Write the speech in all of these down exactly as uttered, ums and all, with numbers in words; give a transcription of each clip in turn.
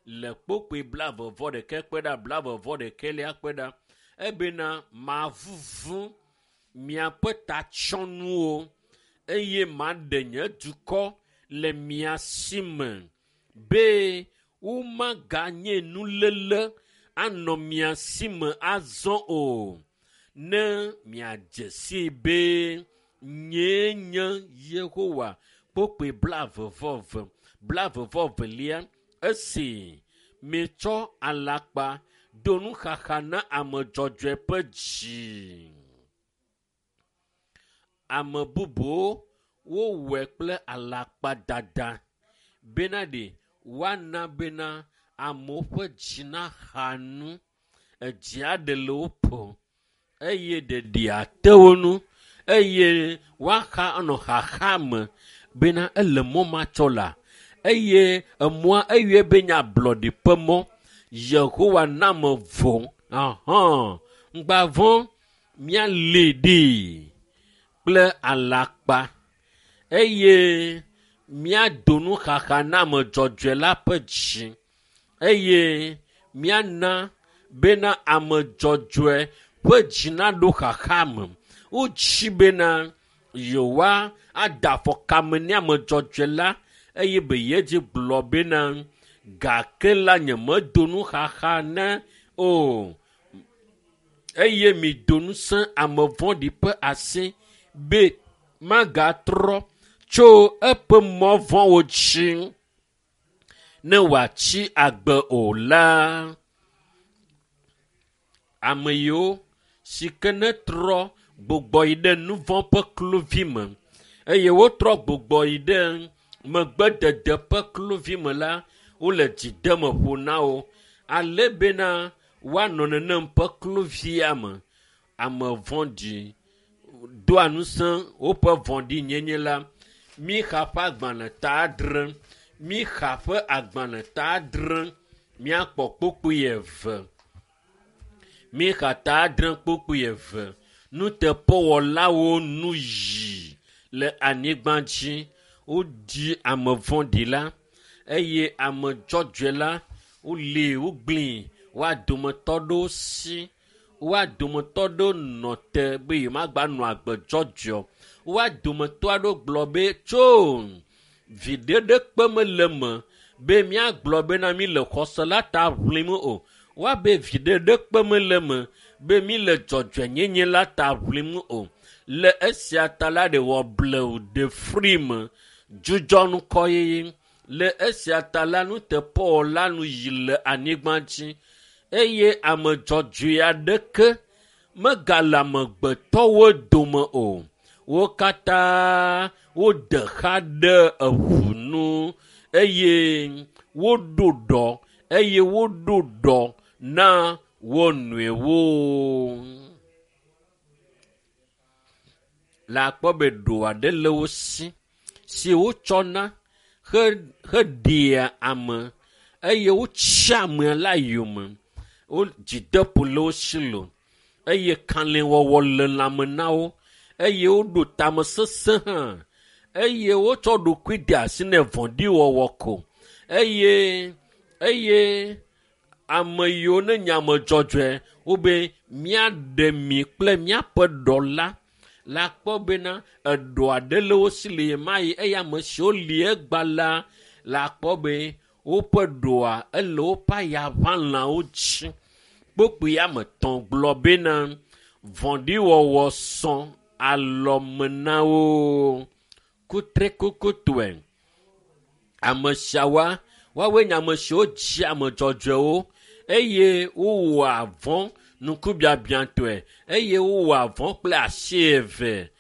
Le kpokpoe blaeve vɔ ɖeke kpe ɖa blaeve vɔ ɖekɛlia kpe ɖa ebena mavuvu miaƒe tatsyɔnuwo eye maɖe nye dukɔ le mia si me be womaganye nuléle anɔ mia si me azɔ o ne miadze sii be nyee nye Yehowa. Kpokpoe blaeve vɔ eve blaeve vɔ velia esi mietsɔ alakpa do nuxaxa na ame dzɔdzɔe ƒe dzi. Ame bubuwo wowɔe kple alakpadada bena ɖe woana bena amewo ƒe dzi naxa nu, edzi aɖe le wo ƒo eye ɖeɖi ate wo ŋu eye woaxa anɔ xaxa me bena ele mɔ ma tsɔ la eye emɔa eyɔe be nye ablɔɖi ƒe mɔ. Yehowa na me vɔ ahã ŋgba vɔ̃ míalée ɖee kple alakpa eye míado nuxaxa na ame dzɔdzɔe la ƒe dzi eye míana bena ame dzɔdzɔe ƒe dzi naɖo xaxa me. Wotsi bena yewoa ada afɔ kame ne ame dzɔdzɔe la eye be yedzi gblɔ bena gake la nyemedo nuxaxa ne o eye mido ŋusẽ ame vɔ̃ɖi ƒe asi be magatrɔ tso eƒe mɔ vɔ̃wo dzi ne wòatsi agbe o la. Ame yiwo si ke netrɔ gbugbɔ yi ɖe nu vɔ̃ ƒe kluvi me eye wotrɔ gbugbɔ yi ɖe megbedede ƒe kluvi me la, wole dzideme ƒo na wo ale bena woanɔ nenem ƒe kluvia me. Ame vɔ̃ɖi doa ŋusẽ woƒe vɔ̃ɖinyenye la. Mixa ƒe agbalẽ ta adre, Mixa ƒe agbalẽ ta adre, míakpɔ kpukpui eve. Mixa ta adre kpukpui eve. Nuteƒewɔlawo nu yi le anyigba dzi. Wodzi ame vɔ̃ɖi la eye ame dzɔdzɔe la wolée wogblẽe. Woa dometɔ ɖewo si. Woa dometɔ ɖewo nɔ te be yewomagba nɔ agbe dzɔdzɔe o. Woa dometɔ aɖewo gblɔ be tso viɖe ɖekpe mele eme be míagblɔ bena mí le xɔse la ta ʋlim o. Woabe viɖe ɖekpe mele eme be mí le dzɔdzɔenyenye la ta ʋlim o. Le esia ta la ɖe wɔ blewu ɖe fri me dzudzɔ ŋkɔyiyi. Le esia ta la nuteƒewɔla nu yi le anyigba dzi eye ame dzɔdzɔe aɖeke megale amegbetɔwo dome o. Wo katã wode xa ɖe eŋu nu eye woɖo ɖɔ eye woɖo ɖɔ na wo nɔewo. Le akpɔ be ɖo aɖe le wo si si wotsɔna he heɖea ame eye wotsia amea la yome. Wo dzideƒo le wo si lo eye kalẽwɔwɔ le lãme na wo eye woɖo tamesesẽ hã eye wotsɔ ɖokui de asi ne vɔ̃ɖiwɔwɔ ko eye eye ame yiwo ne nye ame dzɔdzɔe wobe míaɖe mi kple míaƒe ɖɔ la la kpɔ bena eɖɔ aɖe le wo si le ɣemaɣi eye ame siwo li egba la la kpɔ be woƒe ɖɔa ele woƒe ayaʋãlãwo dzi. Kpukpui ame etɔ̃ gblɔ bena vɔ̃ɖiwɔwɔ sɔ alɔme na wo kutrikukutɔe. Ame siawoa, woawoe nye ame siwo dzi ame dzɔdzɔewo eye wowɔa vɔ̃ ŋkubiabiãtɔe eye wowɔa vɔ̃ kple asi eve.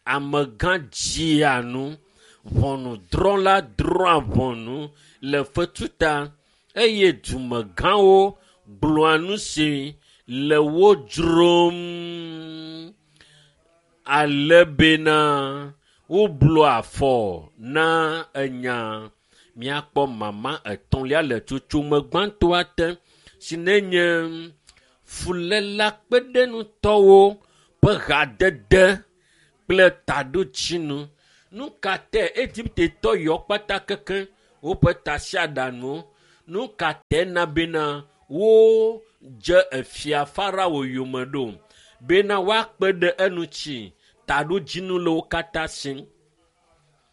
Amegã dzia nu, ʋɔnudrɔ̃la drɔ̃a ʋɔnu le fetu ta eye dumegãwo gblɔa nu si le wo dzrom ale bena woblua afɔ na enya. Míakpɔ mama etɔ̃lia le tsotsome gbãtɔa te si nenye fuléla kpeɖeŋutɔwo ƒe hadede kple taɖodzinu. Nu ka tae Egiptetɔ yawo kpata keke woƒe tasiaɖaŋuwo? Nu ka te na bena wodze efia Farao yome ɖo bena woakpe ɖe eŋuti taɖodzinu le wo katã si.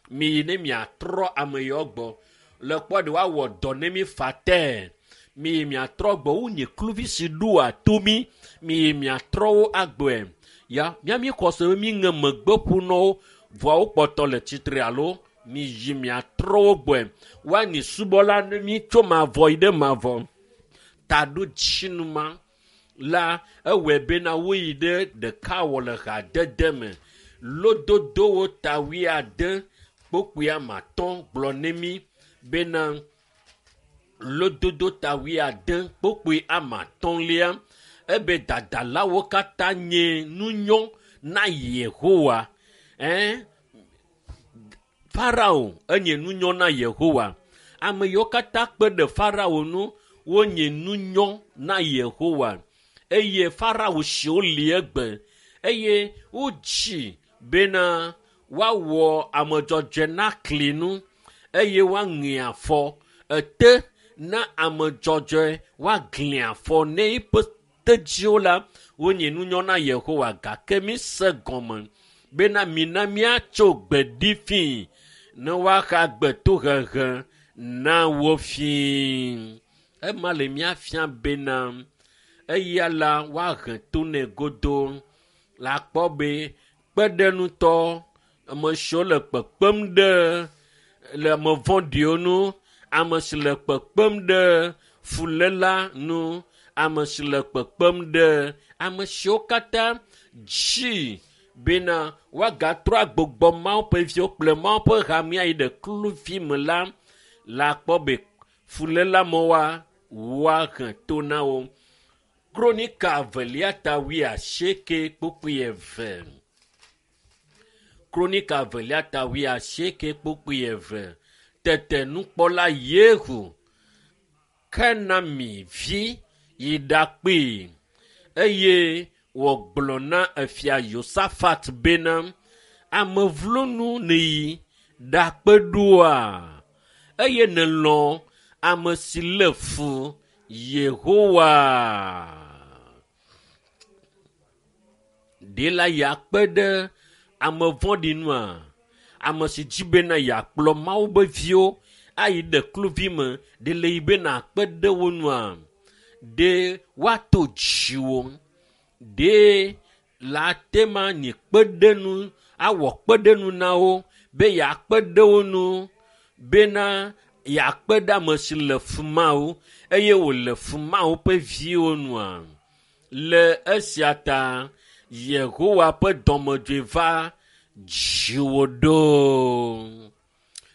Miyi ne miatrɔ ame yawo gbɔ le kpɔ ɖe woawɔ dɔ ne mi fatɛ. Miyi miatrɔ gbɔ wonye kluvi si ɖoa to mi. Miyi miatrɔ wo agbɔe. Ya miami xɔse be mi ŋe megbe ƒu na wo vɔa wo kpɔtɔ le tsitre alo miyi miatrɔ wo gbɔe. Woanyi subɔla ne mi tso mavɔ yi ɖe mavɔ. Taɖodzinu ma la ewɔe bena woyi ɖe ɖeka wɔ le hadede me. Lododowo ta wuiade kpokpui ame atɔ̃ gblɔ ne mi bena lododo ta wuiade kpokpui ame atɔ̃lia ebe dadalawo katã nye nunyɔ na Yehowa. Ɛn Farao enye nunyɔ na Yehowa. Ame yiwo katã kpe ɖe Farao ŋu wonye nunyɔ na Yehowa. Eye Farao siwo li egbe eye wodzi bena woawɔ ame dzɔdzɔe na kli nu eye woaŋe afɔ ete na ame dzɔdzɔe woagli afɔ ne eƒe tedziwo la wonye nunyɔ na Yehowa gake mi se gɔme bena mina míatso gbe ɖi fii ne woaxa gbe tohehe na wo fii. Ema le míafia bena eya la woahe to nɛ godo la kpɔ be kpeɖeŋutɔ ame siwo le kpekpem ɖe le ame vɔ̃ɖiwo ŋu, ame si le kpekpem ɖe fuléla ŋu, ame si le kpekpem ɖe ame siwo katã dzi bena woagatrɔ agbugbɔ Mawu ƒe viwo kple Mawu ƒe hamea yi ɖe kluvi me la, la kpɔ be fuléla mɔwoa woahe to na wo. Kronika evelia ta wuiasieke kpukpui eve. Kronika evelia ta wuiasieke kpukpui eve. Tete nukpɔla Yehu Kenami vi yi ɖakpee eye wògblɔ na efia Yosafat bena ame vlo nu nèyi ɖakpe ɖoa eye nèlɔ̃ ame si lé fu Yehowa. Ɖe la yeakpe ɖe ame vɔ̃ɖi nua? Ame si dzi bena yeakplɔ Mawu be viwo ayi ɖe kluvi me, ɖe le yi bena akpe ɖe wo nua? Ɖe woato dziwò? Ɖe la te ma nye kpeɖeŋu awɔ kpeɖeŋu na wo be yeakpe ɖe wo ŋu bena yeakpe ɖe ame si le fu Mawu eye wòle fu Mawu ƒe viwo nua? Le esia ta Yehowa ƒe dɔmedzoe va dziwò ɖo.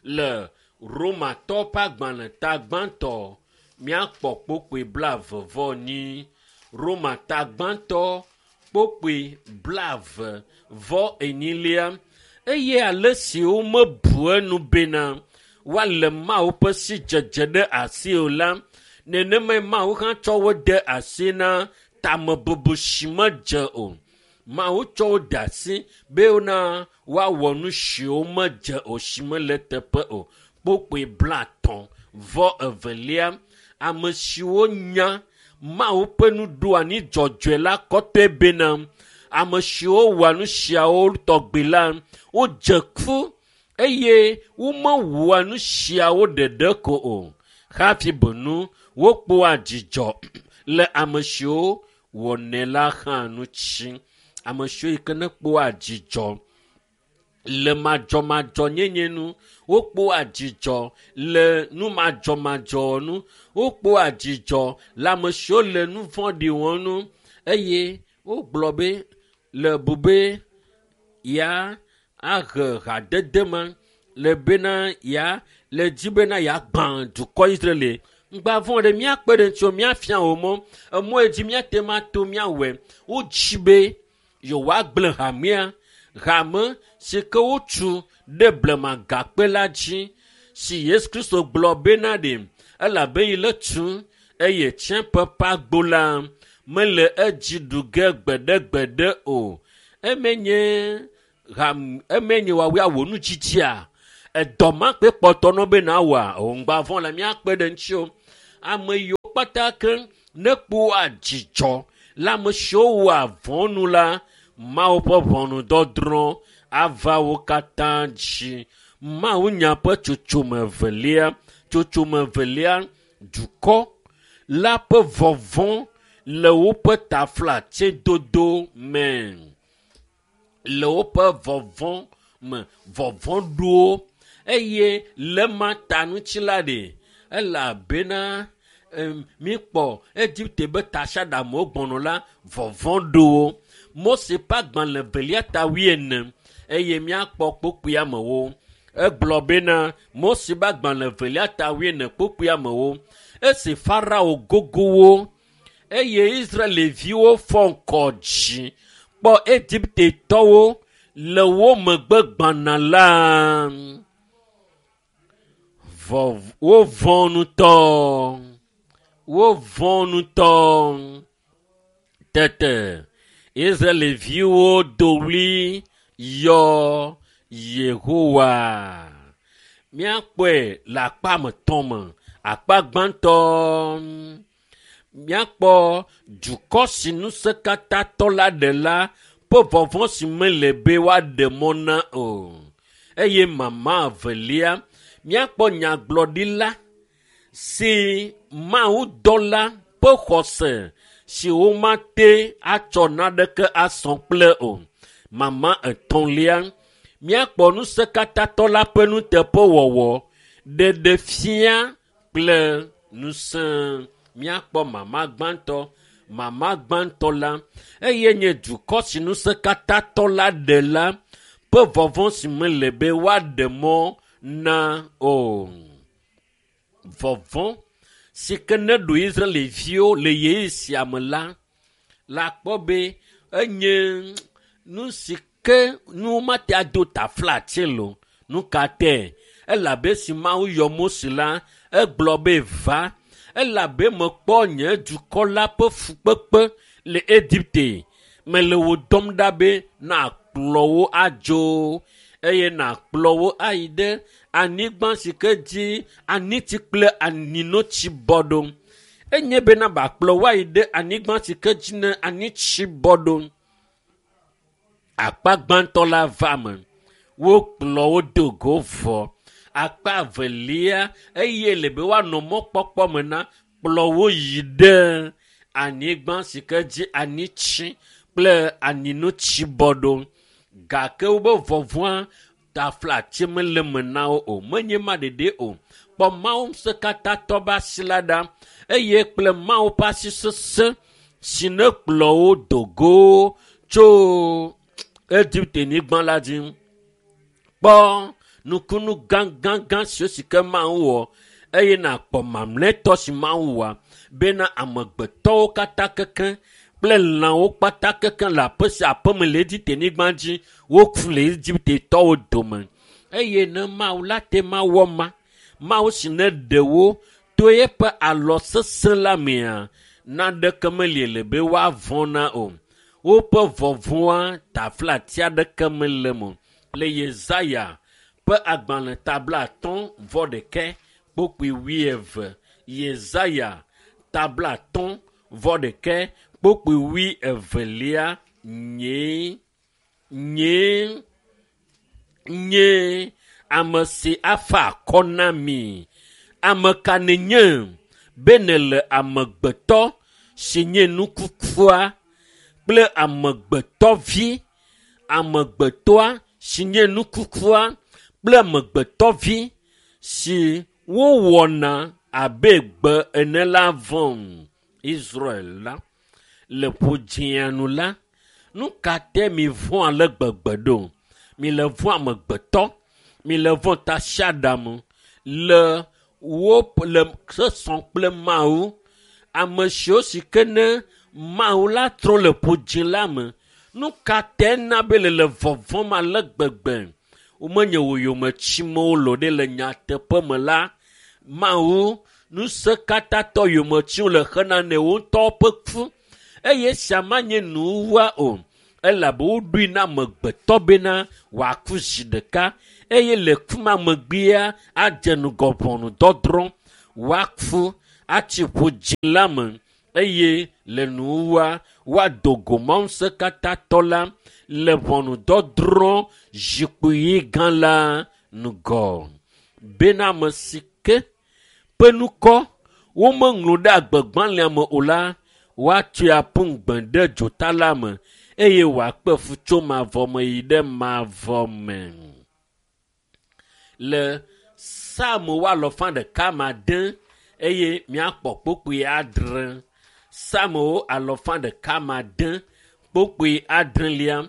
Le Romatɔ ƒe agbalẽ ta gbãtɔ míakpɔ kpokpui blaeve vɔ enyi. Roma ta gbãtɔ kpokpui blaeve vɔ enyilia eye ale si womebu enu bena woale Mawu ƒe sidzedze ɖe asi o la, nenemae Mawu hã tsɔ wo de asi na tamebubu si medze o. Mawu tsɔ wo de asi bena woawɔ nu siwo medze o si mele teƒe o. Kpokpui blaetɔ̃ vɔ evelia ame siwo nya Mawu ƒe nuɖoanyi dzɔdzɔe la kɔtɔe bena ame siwo wɔa nu siawo tɔgbi la wodze ku eye womewɔa nu siawo ɖeɖe ko o. Hafi benu wokpɔa dzidzɔ le ame siwo wɔnɛ la hã ŋuti. Ame siwo yi ke ne kpɔa dzidzɔ le madzɔmadzɔnyenye nu, wokpɔa dzidzɔ le nu madzɔmadzɔ nu, wokpɔa dzidzɔ le ame siwo le nu vɔ̃ɖi wɔm nu eye wogblɔ be le bu be ya ahe hadede ma le bena ya le dzi bena yeagbã dukɔ Israel. Ŋgba vɔ̃ ɖe míakpe ɖe ŋutiwò, míafia wò mɔ. Emɔ yi dzi míate ŋu ato míawɔe. Wodzi be yewoagblẽ hamea, hame si ke wotu ɖe blema gakpe la dzi si Yesu Kristo gblɔ bena ɖe elabe yi le tu eye tsiẽƒe ƒe agbo la mele edzi ɖu ge gbeɖegbeɖe o. Eme nye ham eme nye woawoe awɔ nudzidzia. Edɔ ma kpe kpɔtɔ nɔ be nawɔa o ŋgba vɔ̃ le míakpe ɖe ŋutiwò. Ame yiwo kpata ke ne kpɔa dzidzɔ le ame siwo wɔa vɔ̃ nu la, Mawu ƒe ʋɔnudɔdrɔ̃ ava wo katã dzi. Mawu nya ƒe tsotsome evelia, tsotsome evelia, dukɔ la ƒe vɔvɔ̃ le woƒe taflatsedodo me. Le woƒe vɔvɔ̃ me, vɔvɔ̃ ɖo wo eye le ma ta ŋuti la ɖe, elabena míkpɔ Egipte be tasiaɖamwo gbɔnɔ la, vɔvɔ̃ ɖo wo. Mose ƒe agbalẽ evelia ta wuiene eye míakpɔ kpukpuiamewo. Egblɔ bena Mose ƒe agbalẽ evelia ta wuiene kpukpuiamewo. Esi Farao gogo wo eye Israelviwo fɔ ŋkɔ dzi kpɔ Egiptetɔwo le wo megbe gbana la, vɔ wovɔ̃ ŋutɔ. Wovɔ̃ ŋutɔ. Tete Israelviwo do ɣli yɔ Yehowa. Míakpɔe le akpa etɔ̃ me. Akpa gbãtɔ, míakpɔ dukɔ si ŋusẽkatãtɔ la ɖe la ƒe vɔvɔ̃ si mele be woaɖe mɔ na o. Eye mama evelia, míakpɔ nyagblɔɖila si Mawu dɔla ƒe xɔse si womate atsɔ naneke asɔ kple o. Mama etɔ̃lia, míakpɔ ŋusẽkatãtɔ la ƒe nuteƒewɔwɔ ɖeɖe fia kple ŋusẽ. Míakpɔ mama gbãtɔ, mama gbãtɔ la eye nye dukɔ si ŋusẽkatãtɔ la ɖe la ƒe vɔvɔ̃ si mele be woaɖe mɔ na o. Vɔvɔ̃ si ke ne ɖo Israelviwo le ɣeyiɣi sia me la, la kpɔ be enye nu si ke nu womate ado taflatse le o. Nu ka tae? Elabe esi Mawu yɔ Mose la, egblɔ be va, elabe mekpɔ nye dukɔ la ƒe fukpekpe le Egipte. Mele wo dɔm ɖa be nakplɔ wo adzo eye nakplɔ wo ayi ɖe anyigba si ke dzi anitsi kple aninotsi bɔ ɖo. Enye bena bakplɔ wo ayi ɖe anyigba si ke dzi ne anitsi bɔ ɖo. Akpa gbãtɔ la va me. Wokplɔ wo do go vɔ. Akpa evelia eye le be woanɔ mɔkpɔkpɔ me na kplɔ wo yi ɖe anyigba si ke dzi anitsi kple aninotsi bɔ ɖo. Gake wobe vɔvɔ̃a taflatse mele me na wo o. Menye ma ɖeɖe o. Kpɔ Mawu ŋusẽkatãtɔ ƒe asi la ɖa eye kple Mawu ƒe asi sesẽ si ne kplɔ wo do go tso Egipte-nyigba la dzi. Kpɔ nukunu gãgãgã siwo si ke Mawu wɔ eye nakpɔ mamlɛtɔ si Mawu wɔa bena amegbetɔwo katã keke kple lãwo kpata keke le aƒe sia aƒe me le Egipte-nyigba dzi woku le Egiptetɔwo dome. Eye ne Mawu la te ma wɔ ma, Mawu si ne ɖe wo to eƒe alɔ sesẽ la mea, naneke meli le be woavɔ̃ na o. Woƒe vɔvɔ̃a taflatse aɖeke mele eme o. Le Yesaya ƒe agbalẽ ta blaatɔ̃ vɔ ɖekɛ kpukpui wuieve. Yesaya ta blaatɔ̃ vɔ ɖekɛ kpukpui wuievelia nye nye nye ame si afa akɔ na mi. Ame ka nenye be nele amegbetɔ si nye nukukua kple amegbetɔvi, amegbetɔa si nye nukukua kple amegbetɔvi si wowɔna abe gbe ene la vɔ̃m. Israel la le ƒodzĩa nu la, nu ka te mi vɔ̃ ale gbegbe ɖo? Mi le vɔ̃ amegbetɔ, mi le vɔ̃ tasiaɖam le wo le sesɔ kple Mawu. Ame siwo si ke ne Mawu la trɔ le ƒodzĩ la me, nu ka te na be le le vɔvɔ̃m ale gbegbe? Womenye wò yometsimewo loo ɖe le nyateƒe me la, Mawu ŋusẽkatãtɔ yometsiwo le xena ne wo ŋutɔwo ƒe ku eye esia manye nuwuwua o. Elabe woɖoe na amegbetɔ bena wòaku zi ɖeka eye le ku ma megbea adze ŋgɔ ʋɔnudɔdrɔ̃. Woaku atsi ƒu dzi la me eye le nuwuwua woado go Mawu ŋusẽkatãtɔ la le ʋɔnudɔdrɔ̃ zikpui gã la ŋgɔ. Bena ame si ke ƒe ŋkɔ womeŋlɔ ɖe agbegbalẽa me o la, woatsoe aƒu gbe ɖe dzota la me eye wòakpe fu tso mavɔ me yi ɖe mavɔ me. Le Psalm alɔfa ɖeka ma ade eye míakpɔ kpukpui adre. Psalmwo alɔfa ɖeka ma ade kpukpui adrelia.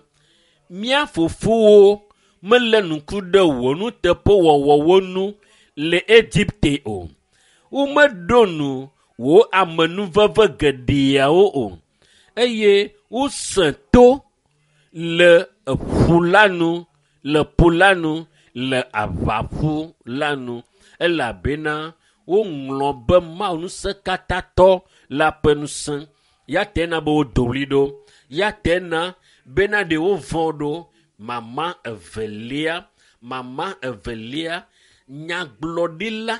Mía fofowo melé ŋku ɖe wò nuteƒewɔwɔwo ŋu le Egipte o. Womeɖo nu wò amenuveve geɖeawo o eye wosẽ to le ƒu la nu le ƒu la nu le aʋaƒu la nu elabena woŋlɔ be Mawu ŋusẽkatãtɔ la ƒe ŋusẽ. Ya te na be wodo ɣli ɖo. Ya te na bena ɖe wovɔ̃ ɖo. Mama evelia, mama evelia, nyagblɔɖila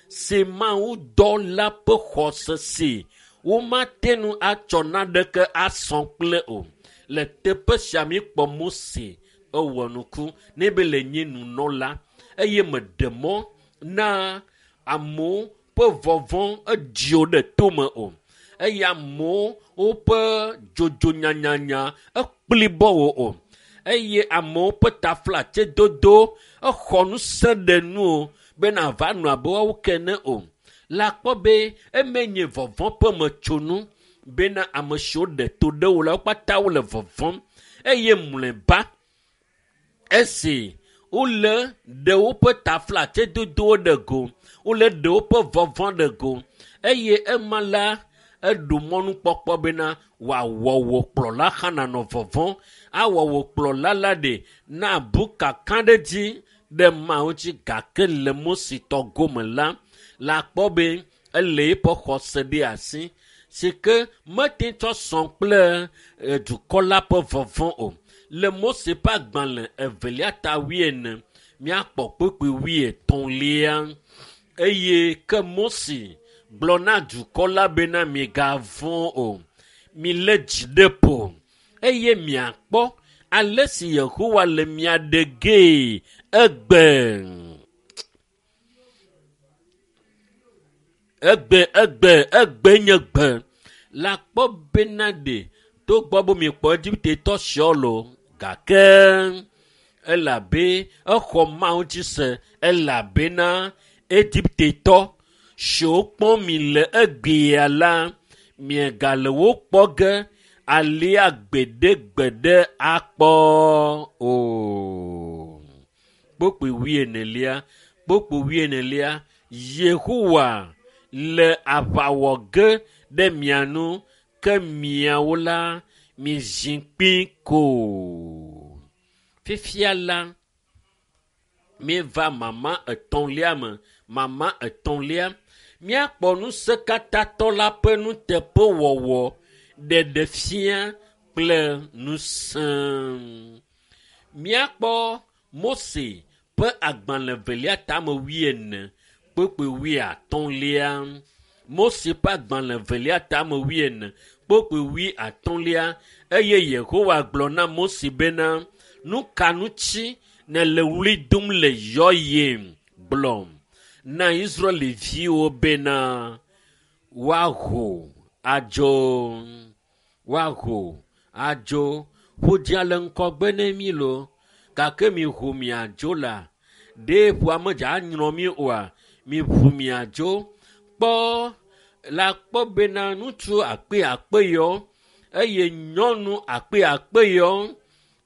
si Mawu dɔ la ƒe xɔse si womate ŋu atsɔ naneke asɔ kple o. Le teƒe sia míkpɔ Mose ewɔ nuku ne be le nye nunɔla eye meɖe mɔ na amewo ƒe vɔvɔ̃ edziwo ɖe tome o eye amewo woƒe dzodzo nyanyanya ekpli bɔ wo o eye amewo ƒe taflatsedodo exɔ ŋusẽ ɖe nu o bena ava nɔ abe woawo ke ene o. La kpɔ be eme nye vɔvɔ̃ ƒe metsonu bena ame siwo ɖe to ɖe wo la wo katã wole vɔvɔ̃m eye mlɔeba esi wole ɖe woƒe taflatsedodowo ɖe go, wole ɖe woƒe vɔvɔ̃ ɖe go eye ema la eɖo mɔnukpɔkpɔ bena wòawɔ wò kplɔla hã nanɔ vɔvɔ̃, awɔ wò kplɔla la ɖe nabu kakaɖedzi ɖe Mawu dzi gake le Mose tɔ gome la, la kpɔ be ele eƒe xɔse ɖe asi si ke mete tsɔ sɔ kple dukɔ la ƒe vɔvɔ̃ o. Le Mose ƒe agbalẽ evelia ta wuiene míakpɔ kpukpui wuietɔ̃lia eye ke Mose gblɔ na dukɔ la bena migavɔ̃ o, milé dzi ɖe ƒo eye miakpɔ ale si Yehowa le mia ɖe gee egbe. Egbe, egbe, egbe nye gbe. La kpɔ bena ɖe togbɔ be miekpɔ Egiptetɔ siawo loo gake elabe exɔ Mawu dzi se elabena Egiptetɔ siwo kpɔm mi le egbea la miegale wo kpɔ ge alea gbeɖegbeɖe akpɔ o. Kpukpui wuienelia, kpukpui wuienelia, Yehowa le aʋa wɔ ge ɖe mia nu ke miawo la mizi kpi ko. Fifia la míeva mama etɔ̃lia me. Mama etɔ̃lia míakpɔ ŋusẽkatãtɔ la ƒe nuteƒewɔwɔ ɖeɖefia kple ŋusẽ. Míakpɔ Mose ƒe agbalẽ velia tame wuiene kpukpui wuiatɔ̃lia. Mose ƒe agbalẽ velia tame wuiene kpukpui wuiatɔ̃lia eye Yehowa gblɔ na Mose bena nu ka ŋuti nèle ɣli dom le yɔyem gblɔm na Israelviwo bena woaho adzo, woaho adzo. Ƒudzia le ŋgɔgbe ne mí loo gake miho miadzo la ɖe ƒua medza anyrɔ mí oa miʋu miadzo. Kpɔ la kpɔ bena ŋutsu akpe akpe yɔ eye nyɔnu akpe akpe yɔ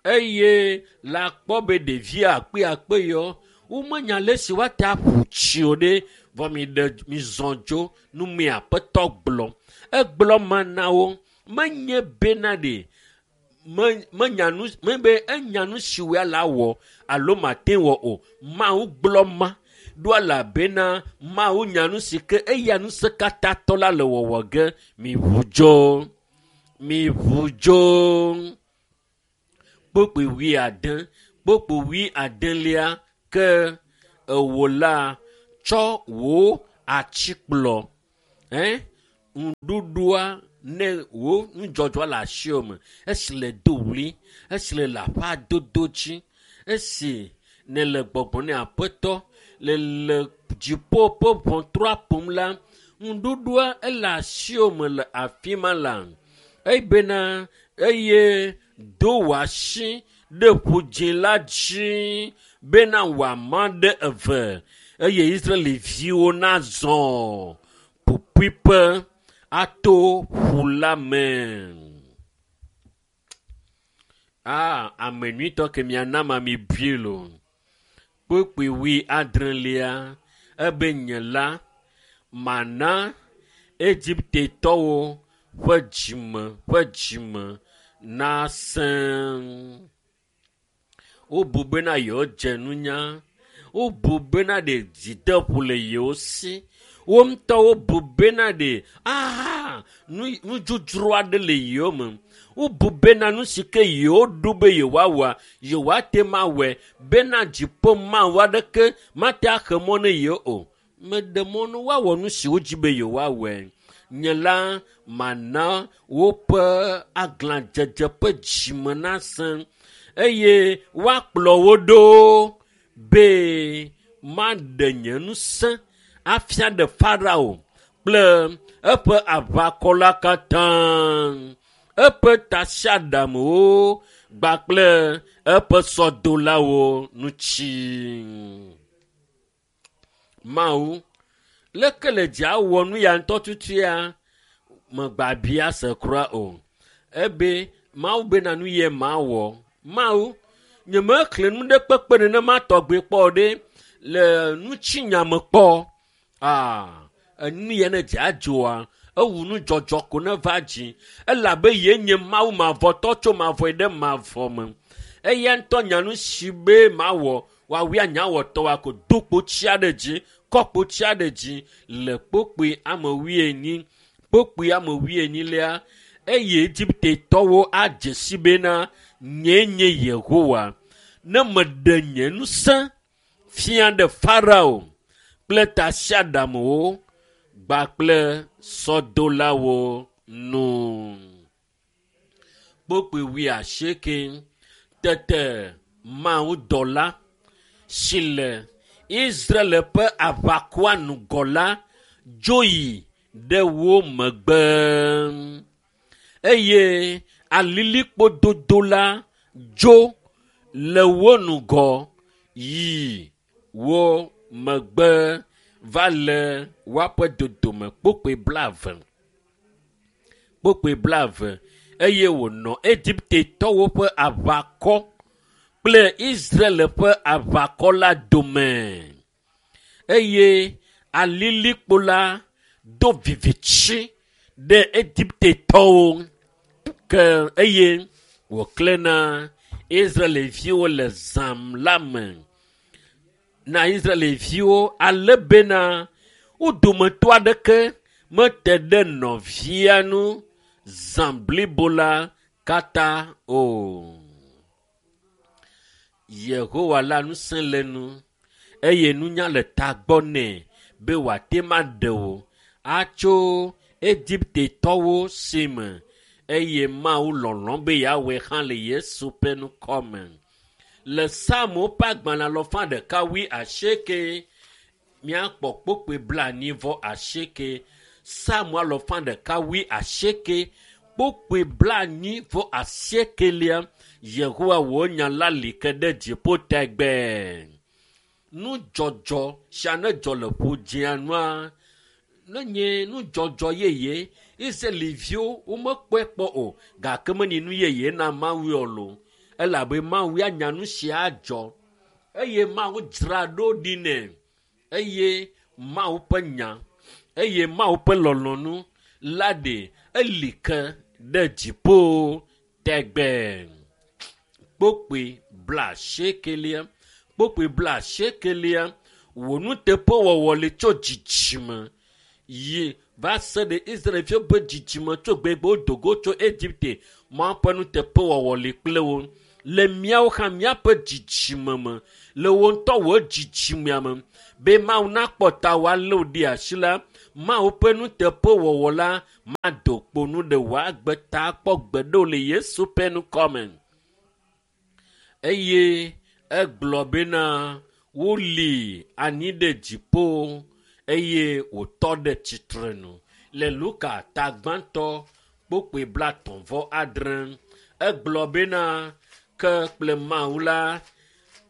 eye la kpɔ be ɖevi akpe akpe yɔ womenya le si woate aƒu tsi o ɖe vɔ mi ɖe mizɔ dzo nu mi aƒetɔ gblɔ. Egblɔ ma na wo menye bena ɖe me menya nu mebe enya nu si woa la wɔ alo mate wɔ o. Mawu gblɔ ma ɖo elabena Mawu nya nu si ke eya ŋusẽkatãtɔ la le wɔwɔ ge. Miʋu dzo, miʋu dzo. Kpukpui wuiade, kpukpui wuiadelia ke ewo la tsɔ wò atikplɔ Eh? Ŋuɖuɖua ne wo nudzɔdzɔ le asiwò me, esi le do ɣli, esi le le aƒea dodo dzi, esi nele gbɔgbɔ ne aƒetɔ le le dziƒo ƒe ʋɔtrua ƒom la, ŋuɖuɖua ele asiwò me le afi ma la. Ebena eye do wò asi ɖe ƒu la dzi bena wòama ɖe eve eye Israelviwo nazɔ ƒuƒuiƒe ato ƒu la me. Ah, ame nyuitɔ ke miana ma mi bui lo. Kpukpui wui adrelia ebe nye la mana Egiptetɔwo ƒe dzime ƒe dzime nasẽ. Wobu bena yewodze nunya. Wobu bena ɖe dzideƒo le yewo si. Wo ŋutɔwo bu bena ɖe aha nu nudzodzro aɖe le yewo me. Wobu bena nu si ke yewoɖo be yewoawɔa, yewoate ŋu awɔe bena dziƒo Mawu aɖeke mate axe mɔ ne yewo o. Meɖe mɔ ne woawɔ nu si wodzi be yewoawɔe. Nye la mana woƒe aglãdzedze ƒe dzime nasẽ eye woakplɔ wo ɖo be maɖe nye ŋusẽ afia ɖe Farao kple eƒe aʋakɔ la katã, eƒe tasiaɖamwo kpakple eƒe sɔdolawo ŋuti. Mawu, leke le dza wɔ nu ya ŋutɔ tutuia, megbabia se kura o. Ebe Mawu bena nu ye mawɔ. Mawu, nyemexlẽ nu ɖe kpekpe nenema tɔgbe kpɔ ɖe le ŋutinya me kpɔ. Ah, enu ya ne dza dzoa, ewu nudzɔdzɔ ko ne va dzi. Elabe ye nye Mawu mavɔtɔ tso mavɔe ɖe mavɔ me. Eya ŋutɔ nya nu si be mawɔ, woawoe anyawɔtɔwoa ko do kpotsia ɖe dzi, kɔ kpotsia ɖe dzi le kpokpoe ame wuienyi. Kpokpoe ame wuienyilia, eye Egiptetɔwo adze si bena nyee nye Yehowa. Ne meɖe nye ŋusẽ fia ɖe Farao kple tasiaɖamwo kpakple sɔdolawo nu. Kpokpoe wuiasieke. Tete Mawudɔla si le Israel ƒe aʋakɔa ŋgɔ la dzo yi ɖe wo megbe eye alilikpo dodo la dzo le wo ŋgɔ yi wo megbe va le woaƒe dodome kpokpoe blaeve. Kpokpoe blaeve eye wònɔ Egiptetɔwo ƒe aʋakɔ kple Israel ƒe aʋakɔ la dome eye alilikpo la do vivitsi ɖe Egiptetɔwo ke eye wòklẽ na Israelviwo le zã la me. Na Israelviwo ale bena wo dometɔ aɖeke mete ɖe nɔvia ŋu zã blibo la katã o. Yehowa la ŋusẽ le nu eye nunya le tagbɔ nɛ be wòate ŋu aɖe wò atso Egiptetɔwo si me eye Mawu lɔlɔ̃ be yeawɔe hã le Yesu ƒe ŋkɔ me. Le Psalmo ƒe agbalẽ alafa ɖeka wui asieke míakpɔ kpokpoe blaenyi vɔ asieke. Psalmo alafa ɖeka wui asieke kpokpoe blaenyi vɔ asiekelia Yehowa wò nya la li ke ɖe dziƒo tegbee. Nudzɔdzɔ sia ne dzɔ le ƒu dzĩa nua, ne nye nudzɔdzɔ yeye, Israelviwo womekpɔe kpɔ o gake menye nu yeye na Mawu o lo. Elabe Mawu ya nya nu sia adzɔ eye Mawu dzra ɖo ɖi nɛ eye Mawu ƒe nya eye Mawu ƒe lɔlɔ̃nu la ɖe eli ke ɖe dziƒo tegbee. Kpokpoe blaasiekelia, kpokpoe blaasiekelia, wò nuteƒewɔwɔ li tso dzidzime yi va se ɖe Israelviwo ƒe dzidzime tso gbegbe wodo go tso Egipte. Mawu ƒe nuteƒewɔwɔ li kple wo. Le míawo hã míaƒe dzidzime me, le wò ŋutɔ wò dzidzimea me, be Mawu nakpɔ ta wòalé wò ɖe asi la, Mawu ƒe nuteƒewɔwɔ la mado kpo nu ɖe wò agbe ta kpɔ gbeɖe o le Yesu ƒe ŋkɔme. Eye egblɔ bena woli anyi ɖe dziƒo eye wòtɔ ɖe tsitrenu. Le Luka ta gbãtɔ kpokpoe blatɔ̃ vɔ adre egblɔ bena ke kple Mawu la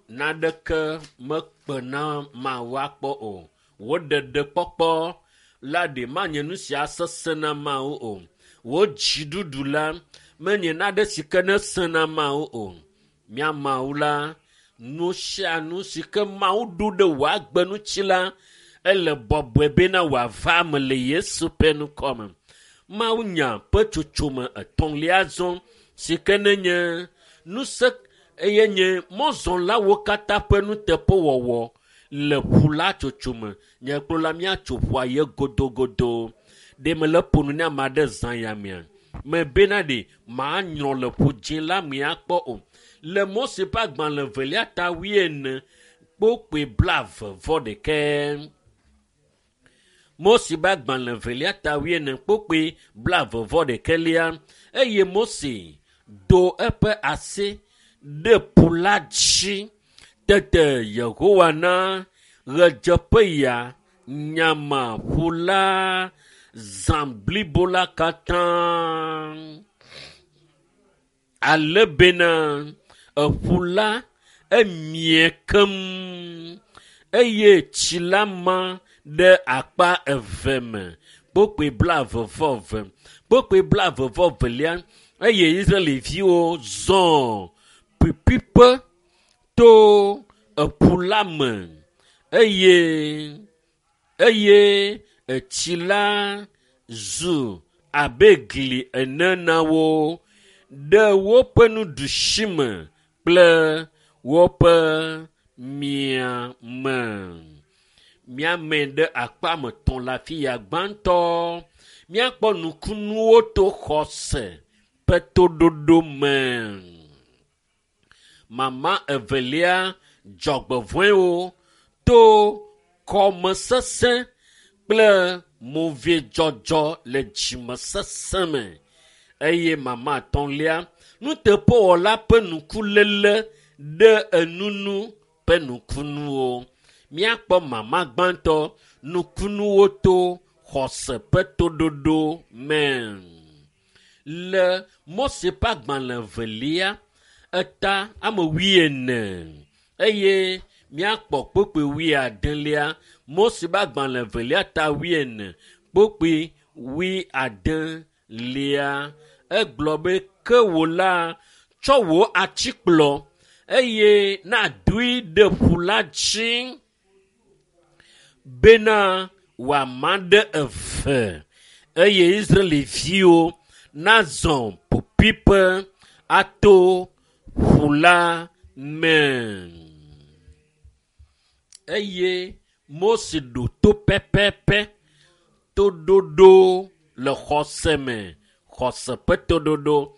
naneke mekpena Mawu akpɔ o. Wò ɖeɖekpɔkpɔ la ɖe manye nu sia sesẽ na Mawu o. Wò dziɖuɖu la menye nane si ke nesẽ na Mawu o. Mía Mawu la, nu sia nu si ke Mawu ɖo ɖe wò agbe ŋuti la, ele bɔbɔe bena wòava eme le Yesu ƒe ŋkɔme. Mawu nya ƒe tsotsome etɔ̃lia zɔ si ke nenye nuse eye nye mɔzɔlawo katã ƒe nuteƒewɔwɔ le ƒu la tsotsome. Nye kplɔ la míatso ƒua ye godogodo. Ɖe mele ƒo nu ne ame aɖe zã ya mea? Mebena ɖe manyrɔ le ƒu dzĩ la me akpɔ o. Le Mose ƒe agbalẽ evelia ta wuiene kpokpoe blaeve vɔ ɖekɛ. Mose ƒe agbalẽ evelia ta wuiene kpokpoe blaeve vɔ ɖekɛlia eye Mose do eƒe asi ɖe ƒu la dzi. Tete Yehowa na ɣedzeƒeya nyama ƒu la zã blibo la katã. Ale bena eƒu la emie keŋ eye tsi la ma ɖe akpa eve me. Kpokpoe blaeve vɔ eve. Kpokpoe blaeve vɔ evelia eye Israelviwo zɔ ƒiƒiƒe to eƒu la me eye eye etsi la zu abe gli ene na wo ɖe woƒe nuɖusime kple woƒe miame. Miame ɖe akpa me tɔ̃ le afi ya. Gbãtɔ, míakpɔ nukunuwo to xɔse ƒe toɖoɖo me. Mama evelia, dzɔgbevɔ̃ewo to kɔmesesẽ kple movidzɔdzɔ le dzimesesẽ me. Eye mama etɔ̃lia, nuteƒewɔla ƒe nukuléle ɖe enunu ƒe nukunuwo. Míakpɔ mama gbãtɔ, nukunuwo to xɔse ƒe toɖoɖo me. Le Mose ƒe agbalẽ evelia, eta ame wuiene eye míakpɔ kpokpoe wuiadelia. Mose ƒe agbalẽ evelia ta wuiene kpokpoe wuiadelia. Egblɔ be ke wò la tsɔ wò atikplɔ eye nadoe ɖe ƒu la dzi bena wòama ɖe eve eye Israelviwo nazɔ ƒuƒuiƒe ato ƒu la me. Eye Mose ɖo to pɛpɛpɛ toɖoɖo le xɔse me, xɔse ƒe toɖoɖo.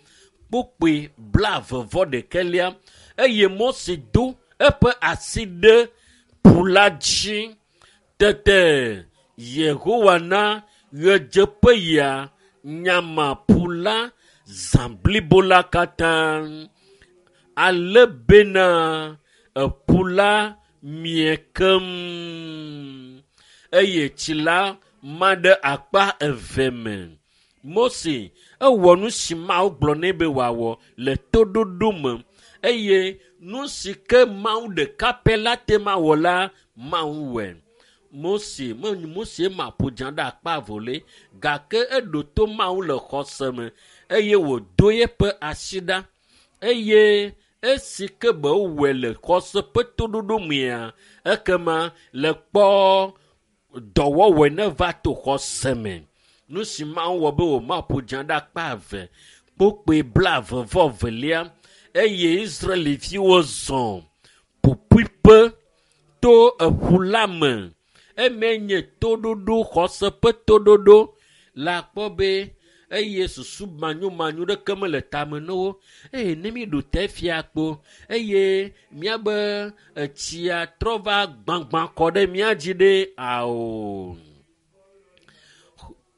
Kpokpoe blaeve vɔ ɖekɛlia eye Mose do eƒe asi ɖe ƒu la dzi. Tete Yehowa na ɣedzeƒeya nyama ƒu la zã blibo la katã. Ale bena eƒu la mie keŋ eye tsi la ma ɖe akpa eve me. Mose ewɔ nu si Mawu gblɔ nɛ be wòawɔ le toɖoɖo me eye nu si ke Mawu ɖeka pɛ la te ma wɔ la, Mawu wɔe. Mose menye Mose ma ƒo dza ɖe akpa eve o le gake eɖo to Mawu le xɔse me eye wòdo eƒe asi ɖa eye esi ke be wòwɔe le xɔse ƒe toɖoɖo mea, ekema le kpɔ dɔwɔwɔe neva to xɔse me. Nu si Mawu wɔ be wòma ƒo dza ɖe akpa eve kpokpoe blaeve vɔ evelia eye Israelviwo zɔ ƒuƒuiƒe to eƒu la me. Eme nye toɖoɖo, xɔse ƒe toɖoɖo la kpɔ be eye susu manyomanyo ɖeke mele tame na wo. Eye ne mi ɖo te fia kpo eye míabe etsia trɔ va gbagbã kɔ ɖe mía dzi ɖe ao.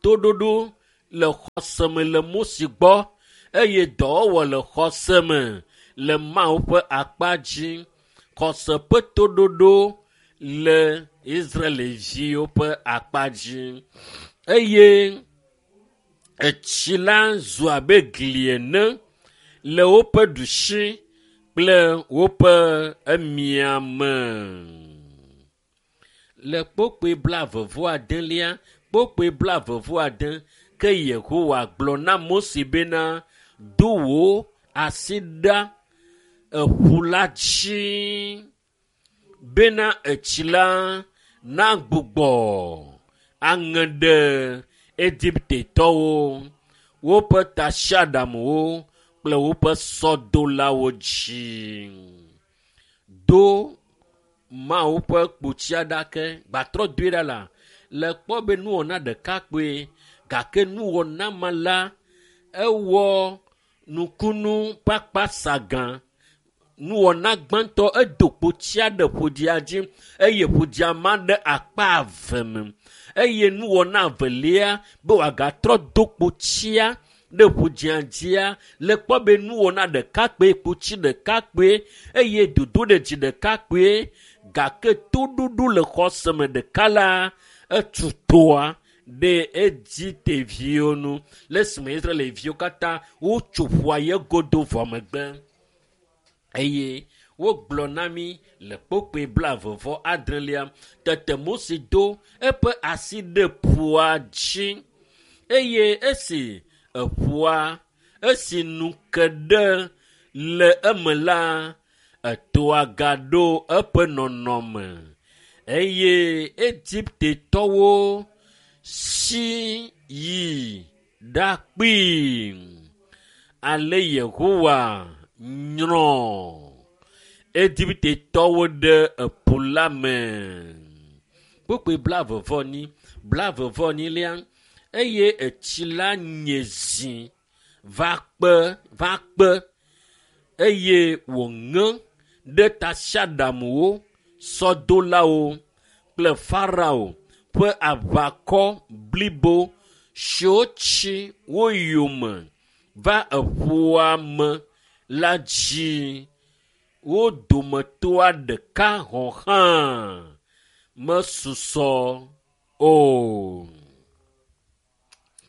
Toɖoɖo le xɔse me le Mose gbɔ eye dɔwɔwɔ le xɔse me le Mawu ƒe akpa dzi. Xɔse ƒe toɖoɖo le Israelviwo ƒe akpa dzi eye etsi la zu abe gli ene le woƒe ɖusi kple woƒe emiame. Le kpokpoe blaeve vɔ adelia, kpokpoe blaeve vɔ ade ke Yehowa gblɔ na Mose bena, do wò asi ɖa eƒu la dzi bena etsi la nagbugbɔ aŋe ɖe Egiptetɔwo, woƒe tasiaɖamwo kple woƒe sɔdolawo dzi. Do Mawu ƒe kpotsia ɖa ke gbatrɔ doe ɖa la le kpɔ be nuwɔna ɖeka kpoe gake nuwɔna ma la ewɔ nukunu kpakpa sagã. Nuwɔna gbãtɔ edo kpotsia ɖe ƒodzia dzi eye ƒodzia ma ɖe akpa eve me eye nuwɔna evelia be wòagatrɔ do kpotsia ɖe ƒodzia dzia le kpɔ be nuwɔna ɖeka kpoe kpotsi ɖeka kpoe eye dodo ɖe dzi ɖeka kpoe gake toɖoɖo le xɔse me ɖeka la etu toa ɖe Egipteviwo nu le esime Israelviwo katã wotso ƒua ye godo vɔ megbe. Eye wogblɔ na mí le kpokpoe blaeve vɔ adrelia tete Mose do eƒe asi ɖe ƒua dzi eye esi eƒua esi nu ke ɖe le eme la etoa gaɖo eƒe nɔnɔme eye Egiptetɔwo si yi ɖakpee. Ale Yehowa nyrɔ Egiptetɔwo ɖe eƒu la me. Kpokpoe blaeve vɔ enyi, blaeve vɔ enyilia eye etsi la nye zi va kpe va kpe eye wòŋe ɖe tasiaɖamwo, sɔdolawo kple Farao ƒe aʋakɔ blibo siwo tsi wo yome va eƒua me la dzi. Wo dometɔa ɖeka hɔ̃ hã mesusɔ o.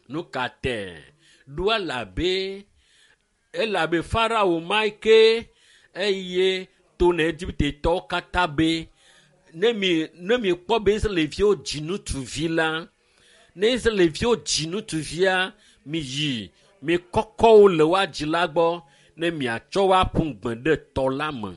Nu ka tɛ? Ɖo elabe elabe Farao ma ke eye to na Egiptetɔwo katã be ne mi ne miekpɔ be Israelviwo dzi ŋutsuvi la, ne Israelviwo dzi ŋutsuvia, miyi mikɔkɔ wo le woa dzila gbɔ ne miatsɔ wo aƒu gbe ɖe tɔ la me.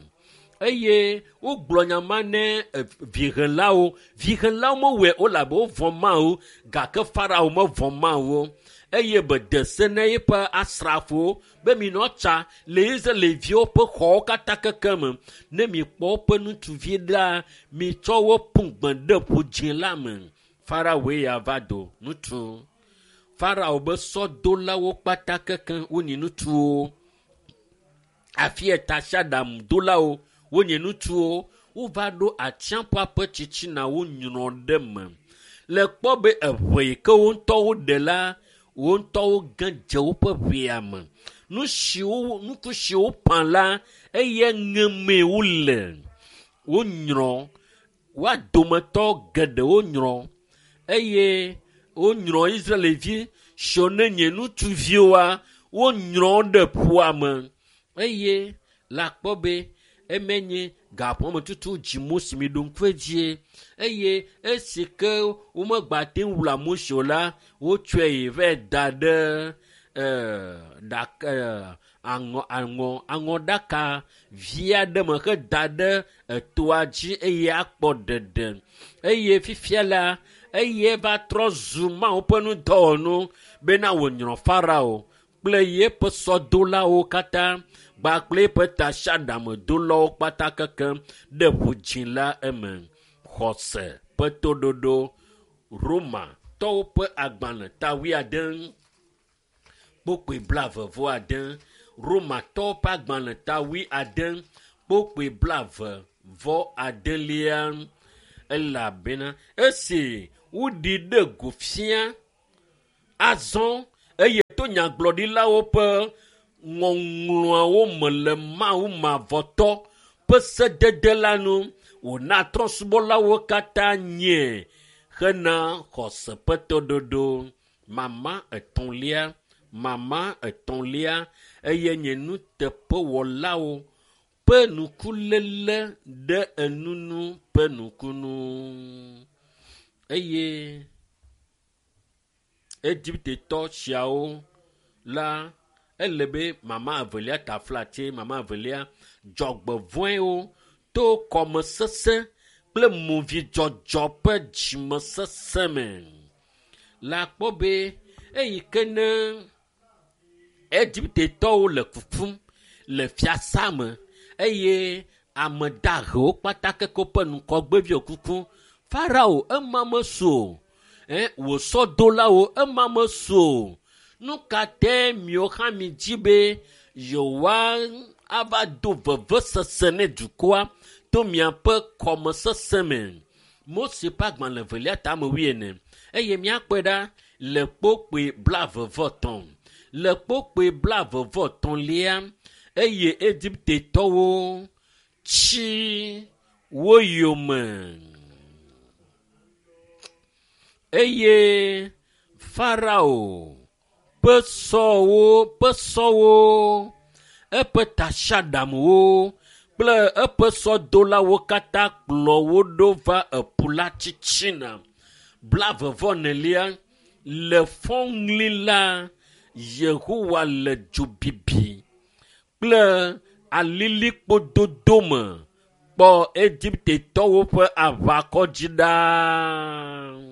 Eye wogblɔ nya ma ne vihelawo. Vihelawo mewɔe o elabe wovɔ̃ Mawu gake Farao mevɔ̃ Mawu o. Eye be de se na eƒe asrafowo be minɔ tsa le Israelviwo ƒe xɔwo katã keke me. Ne mikpɔ woƒe ŋutsuvi ɖa, mitsɔ wo ƒu gbe ɖe ƒu dzĩ la me. Farao ya va do ŋutsu. Farao be sɔdolawo kpata keke wonye ŋutsuwo. Afi ya tasiaɖamdolawo wonye ŋutsuwo. Wova ɖo atsiaƒua ƒe tsitsina wonyrɔ ɖe me. Le kpɔ be eʋe yi ke wo ŋutɔwo ɖe la, wo ŋutɔwo ge dze woƒe ʋea me. Nu siwo nuku siwo ƒã la eye ŋemee wole. Wonyrɔ woa dometɔ geɖewo nyrɔ eye wonyrɔ Israelvi siwo ne nye ŋutsuviwoa wonyrɔ ɖe ƒua me eye le akpɔ be eme nye gaƒome tutu dzi Mose mi ɖo ŋku edzie eye esi ke womegbate ŋu wla Mose o la, wotsɔe yi va da ɖe ee ɖaka aŋɔ aŋɔ aŋɔɖaka vi aɖe me heda ɖe etoa dzi eye akpɔ ɖeɖe. Eye fifia la, eye va trɔ zu Mawu ƒe nudɔwɔnu bena wònyrɔ Farao kple yeƒe sɔdolawo katã kpakple eƒe tasiaɖamdolawo kpata keke ɖe ƒu dzĩ la eme. Xɔse ƒe toɖoɖo Romatɔwo ƒe agbalẽ ta wuiade kpokpoe blaeve vɔ ade. Romatɔwo ƒe agbalẽ ta wuiade kpokpoe blaeve vɔ adelia elabena esi woɖi ɖe go fia Azɔ eye to nyagblɔɖilawo ƒe ŋɔŋlɔawo me le Mawu mavɔtɔ ƒe sedede la nu wòna trɔ̃subɔlawo katã nye hena xɔse ƒe toɖoɖo. Mama etɔ̃lia, mama etɔ̃lia eye nye nuteƒewɔlawo ƒe nukuléle ɖe enunu ƒe nukunu. Eye Egiptetɔ siawo la ele be mama evelia taflatse mama evelia dzɔgbevɔ̃ewo to kɔmesese kple movidzɔdzɔ ƒe dzimesese me. Le akpɔ be eyi ke ne Egiptetɔwo le kukum le fiasa me eye ame dahewo kpata keke woƒe ŋgɔgbeviwo kukum. Farao ema mesu o. Ɛ wò sɔdolawo ema mesu o. Nu ka tae miwo hã midzi be yewoa ava do vevesese ne dukɔa to miaƒe kɔmesese me? Mose ƒe agbalẽ evelia tame wuiene eye míakpɔe ɖa le kpokpoe blaeve-vɔ-etɔ̃. Le kpokpoe blaeve-vɔ-etɔ̃lia eye Egiptetɔwo tsi wo yome. Eye Farao ƒe sɔwo ƒe sɔwo, eƒe tasiaɖamwo kple eƒe sɔdolawo katã kplɔ wo ɖo va eƒu la titina. Blaeve-vɔ-enelia le fɔŋli la Yehowa le dzobibi kple alilikpododo me kpɔ Egiptetɔwo ƒe aʋakɔ dzi ɖaa.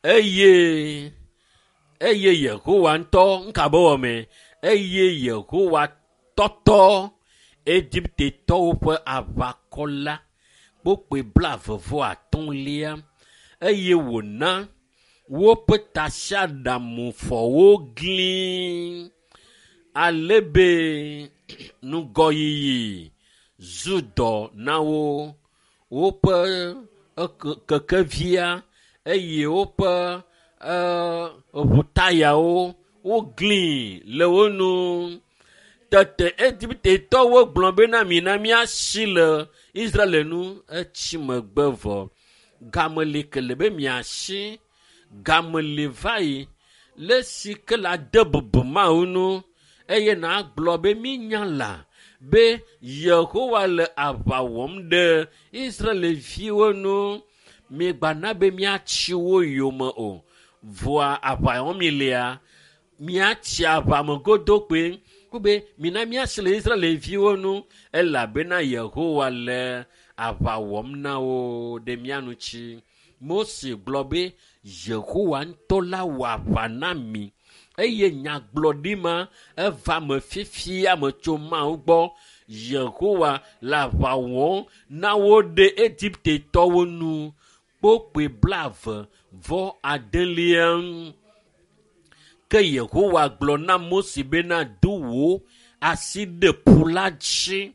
Eye eye Yehowa ŋutɔ ŋka be wɔme eye Yehowa tɔtɔ Egiptetɔwo ƒe aʋakɔ la kpokpoe blaeve-vɔ-atɔ̃lia eye wòna woƒe tasiaɖamufɔwo gli ale be ŋgɔyiyi zu dɔ na wo. Woƒe kekevia eye woƒe ʋutayawo wogli le wo nu. Tete Egiptetɔwo gblɔ bena mina míasi le Israel nu. Etsi megbe vɔ. Game li ke le be miasi, game li va yi le si ke la de bubu Mawu nu eye nàgblɔ be mínya la be Yehowa le aʋa wɔm ɖe Israelviwo nu. Migbana be míatsi wo yome o. Vɔa aʋa wɔm mi lia, míatsi aʋa me godo kpoe. Ko be mina míasi le Israelviwo nu elabena Yehowa le aʋa wɔm na wo ɖe mía ŋuti. Mose gblɔ be Yehowa ŋutɔ la wɔ aʋa na mi eye nyagblɔɖi ma eva me fifia me tso Mawu gbɔ. Yehowa le aʋa wɔm na wo ɖe Egiptetɔwo nu. Kpokpoe blaeve vɔ adelia. Ke Yehowa gblɔ na Mose bena do wò asi ɖe ƒu la dzi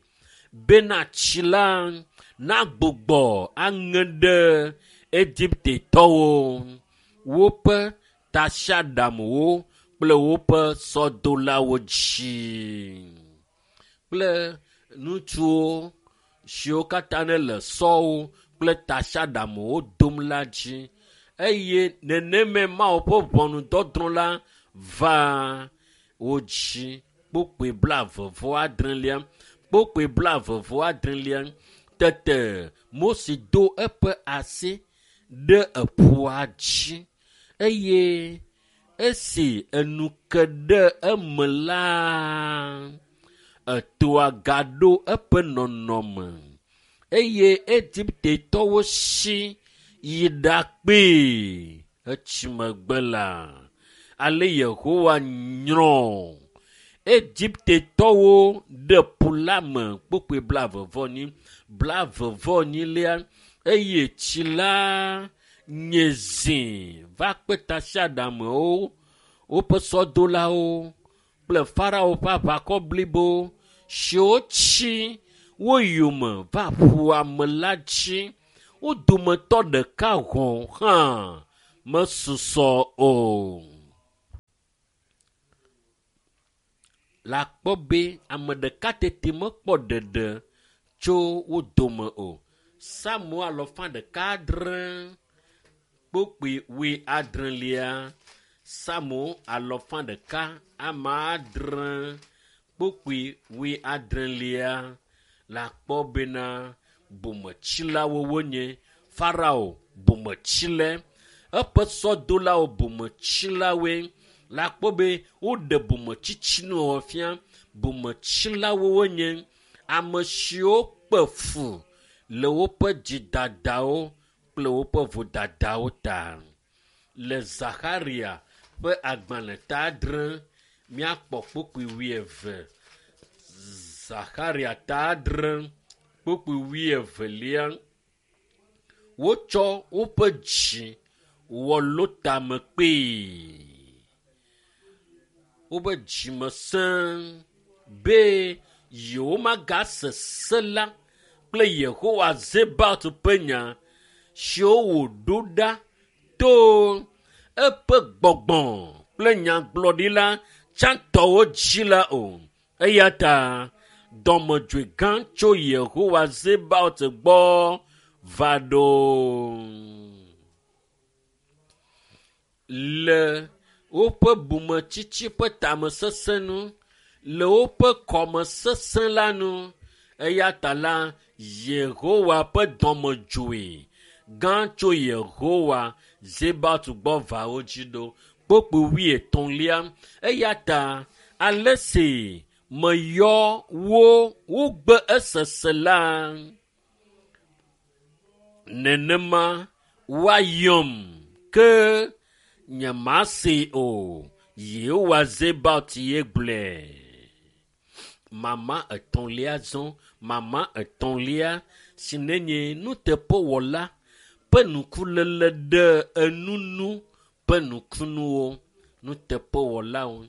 bena tsi la nagbugbɔ aŋe ɖe Egiptetɔwo, woƒe tasiaɖamwo kple woƒe sɔdolawo dzi kple ŋutsuwo siwo katã ne le sɔwo kple tasiaɖamwo dom la dzi. Eye neneme Mawu ƒe ʋɔnudɔdrɔ̃ la va wo dzi. Kpokpoe blaeve-vɔ-adrelia, kpokpoe blaeve-vɔ-adrelia. Tete Mose do eƒe asi ɖe eƒua dzi eye esi enu ke ɖe eme la, etoa gaɖo eƒe nɔnɔme eye Egiptetɔwo si yi ɖakpee etsi megbe la. Ale Yehowa nyrɔ Egiptetɔwo ɖe ƒu la me kpokpoe blaeve-vɔ-enyi, blaeve-vɔ-enyilia eye tsi la nye zi va kpe tasiaɖamewo, woƒe sɔdolawo kple Farao ƒe aʋakɔ blibo siwo tsi wo yome va ƒua me la dzi. Wo dometɔ ɖeka hɔ̃ hã mesusɔ o. La kpɔ be ame ɖeka tete mekpɔ ɖeɖe tso wo dome o. Psalmo alɔfa ɖeka adre kpokpui wui adrelia. Psalmo alɔfa ɖeka ame adre kpokpui wui adrelia. La kpɔ bena bometsilawo wonye. Farao bometsile, eƒe sɔdolawo bometsilawoe. La kpɔ be woɖe bometsitsi fia. Bometsilawo wonye ame siwo kpe fu le woƒe dzidadawo kple woƒe vodadawo ta. Le Zaxaria ƒe agbalẽ ta adre míakpɔ kpokpui wuieve. Zaxaria ta adre kpokpui wuievelia. Wotsɔ woƒe dzi wɔ lotamekpee. Woƒe dzime sẽ be yewomagase se la kple Yehowa Zebaot ƒe nya siwo wòɖo ɖa to eƒe gbɔgbɔ kple nyagblɔɖila tsãtɔwo dzi la o. Eya ta dɔmedzoe gã tso Yehowa Zebaot gbɔ va ɖo. Le woƒe bometsitsi ƒe tamesesẽ nu, le woƒe kɔmesesẽ la nu, eya ta la Yehowa ƒe dɔmedzoe gã tso Yehowa Zebaot gbɔ va wo dzi ɖo. Kpokpui wuietɔ̃lia. Eya ta ale si meyɔ wo wogbe esese la, nenema woayɔm ke nyemasee o. Yehowa Zebaot ye gblɔe. Mama etɔ̃lia zɔ, mama etɔ̃lia si nenye nuteƒewɔla ƒe nukulele ɖe enunu ƒe nukunuwo. Nuteƒewɔlawo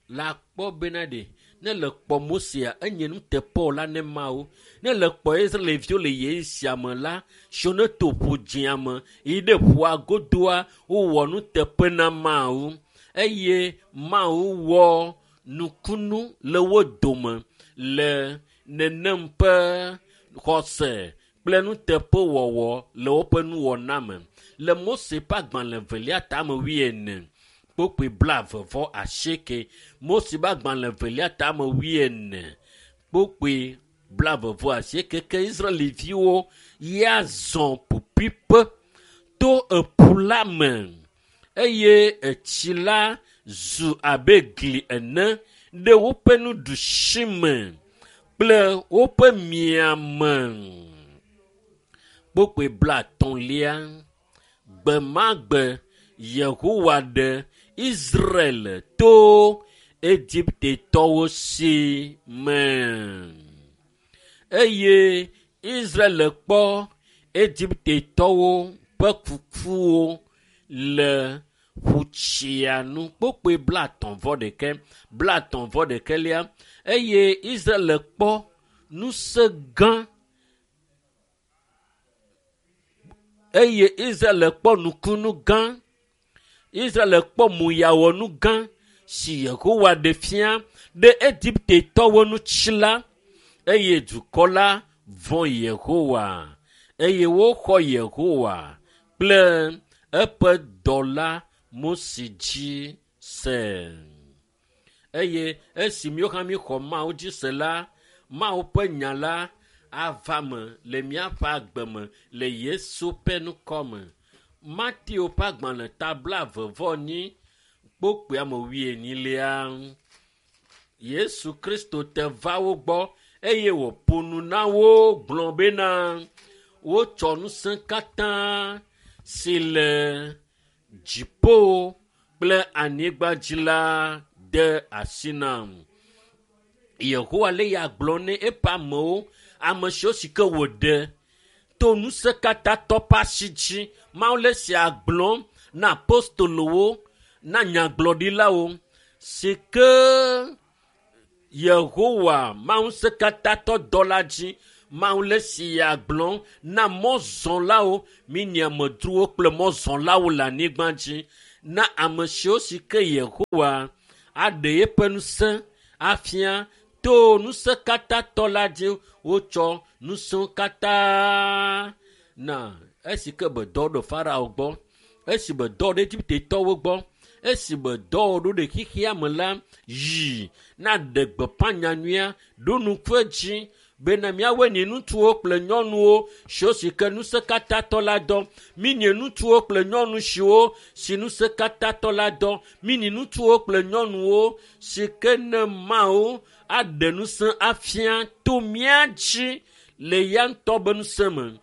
la kpɔ bena ɖe ne le kpɔ Mosea enye nuteƒewɔla ne Mawu. Ne le kpɔ Israelviwo le ɣeyiɣi sia me la, siwo ne to ƒu dzĩa me yi ɖe ƒua godoa, wowɔ nuteƒe na Mawu eye Mawu wɔ nukunu le wo dome le nenem ƒe xɔse kple nuteƒewɔwɔ le woƒe nuwɔna me. Le Mose ƒe agbalẽ velia tame wuiene kpokpui blaeve vɔ asieke. Mose ƒe agbalẽ velia tame wuiene kpokpui blaeve vɔ asieke ke Israelviwo ya zɔ ƒuƒuiƒe to eƒu la me eye etsi la zu abe gli ene ɖe woƒe nuɖusi me kple woƒe miame. Kpokpui blatɔ̃lia. Gbe ma gbe Yehowa ɖe Israel to Egiptetɔwo si me. Eye Israel kpɔ Egiptetɔwo ƒe kukuwo le ƒutsia nu. Kpokpui blatɔ̃ vɔ ɖeke, blatɔ̃ vɔ ɖekelia. Eye Israel kpɔ ŋusẽ gã eye Israel kpɔ nukunu gã. Israel kpɔ muyawɔnu gã si Yehowa ɖe fia ɖe Egiptetɔwo ŋuti la, eye dukɔ la vɔ̃ Yehowa eye woxɔ Yehowa kple eƒe dɔla Mose dzi se. Eye esi míawo hã míexɔ Mawu dzi se la, Mawu ƒe nya la ava me le míaƒe agbe me le Yesu ƒe ŋkɔ me. Mateo ƒe agbalẽ ta blaeve vɔ enyi kpokpui ame wuienyilia. Yesu Kristo te va wo gbɔ eye wòƒo nu na wo gblɔ bena wotsɔ ŋusẽ katã si le dziƒo kple anyigba dzi la de asi nam. Yehowa le ya gblɔ ne eƒe amewo, ame siwo si ke wòɖe to ŋusẽ katã tɔ ƒe asi dzi. Mawu le sia gblɔm na apostolowo, na nyagblɔɖilawo si ke Yehowa Mawu ŋusẽ katã tɔ dɔla dzi Mawu le si ya gblɔ na mɔzɔlawo mi nye amedzrowo kple mɔzɔlawo le anyigba dzi na ame siwo si ke Yehowa aɖe eƒe ŋusẽ afia to ŋusẽ katã tɔ la dzi wotsɔ ŋusẽ katã na esi ke be dɔ ɖo Farao gbɔ esi be dɔ ɖe Egiptetɔwo gbɔ esi be dɔ ɖo ɖe xexea me la yi na ɖe gbeƒã nyanyuia ɖo nuƒe dzi bena míawoe nye ŋutsuwo kple nyɔnuwo siwo si ke ŋusẽ katã tɔ la dɔ mi nye ŋutsuwo kple nyɔnu siwo si ŋusẽ katã tɔ la dɔ mi nye ŋutsuwo kple nyɔnuwo si ke ne Mawu aɖe ŋusẽ afia to mía dzi le ya ŋutɔ be ŋusẽ me.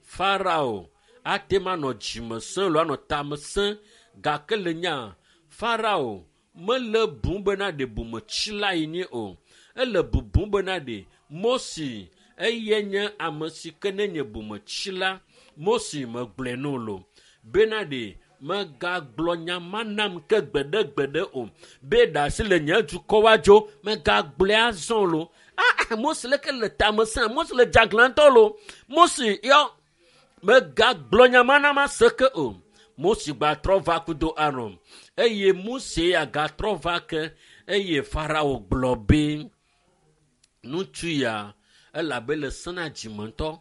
Farao ate ma nɔ dzime sẽ lo anɔ tame sẽ gake le nya Farao mele bum bena ɖe bometsila yi nye o ele bubum bena ɖe Mose eye nye ame si ke ne nye bometsila Mose megblɔe no lo bena ɖe megagblɔ nya ma nam ke gbeɖegbeɖe o be ɖe asi le nye dukɔ wa dzo megagblɔe azɔ lo ah Mose leke le tame sẽ Mose le dzaglãtɔ lo Mose yɔ megagblɔ nya ma nam ase ke o Mose gbatrɔ va kudo Aron eye Mose ya gatrɔ va ke eye Farao gblɔ be ŋutsu ya elabe le sena dzime ŋutɔ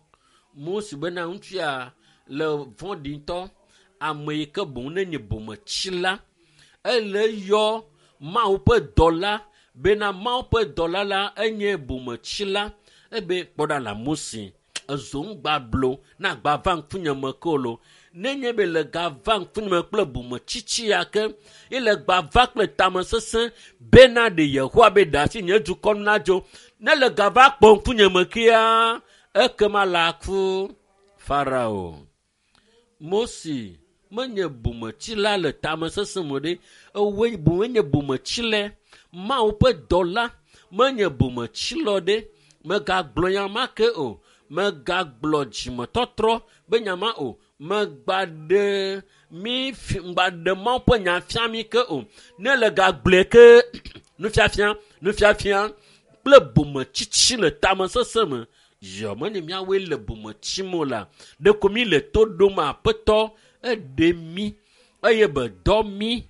Mose bena ŋutsu ya le vɔ̃ɖi ŋutɔ ame yi ke boŋ ne nye bometsila ele yɔ Mawu ƒe dɔla bena Mawu ƒe dɔla la enye bometsila ebe kpɔ ɖa la Mose ezo ŋgba blo na gba va ŋkunye me ke o lo nenye be le ga va ŋkunye me kple bometsitsi ya ke ele gba va kple tamesesẽ bena ɖe Yehowa be ɖe asi nye dukɔ nu nadzo ne le ga va kpɔ ŋkunye me kea ekema la ku Farao. Mose menye bometsila le tamesesẽ me ɖe ewoe boŋ enye bometsila Mawu ƒe dɔla menye bometsila ɖe megagblɔ nya ma ke o megagblɔ dzimetɔtrɔ be nya ma o megba ɖe mi fi ŋgba ɖe Mawu ƒe nya fia mi ke o ne le gagblɔe ke nufiafia nufiafia kple bometsitsi le tamesesẽ me yɔ menye míawoe le bometsim o la ɖeko mi le to ɖom aƒetɔ eɖe mi eye be dɔ mi